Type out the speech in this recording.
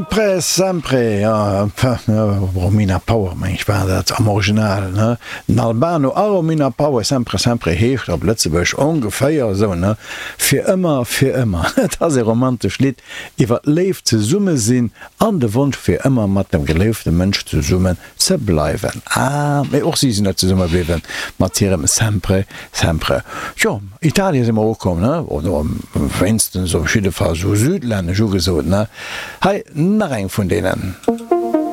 Sempre, sempre, jo, Romina Power meng ech war dat am Original, ne? Den Albano a Romina Power, Sempre, sempre heescht op Lëtzebuergesch ongeféier esou, ne? Fir ëmmer, fir ëmmer. Et ass e romantescht Lidd iwwer d'Léift, Zesummesinn an de Wonsch fir ëmmer mat dem geléifte Mënsch zesummen ze bleiwen. Ah, mee och si sinn net zesumme bliwwen mat hirem Sempre, sempre. Tjo, Italien si mer ukomm, ne? Oder wéinstens op jidde Fall sou südlännesch ugesot, ne? Hei nach eng vun deenen.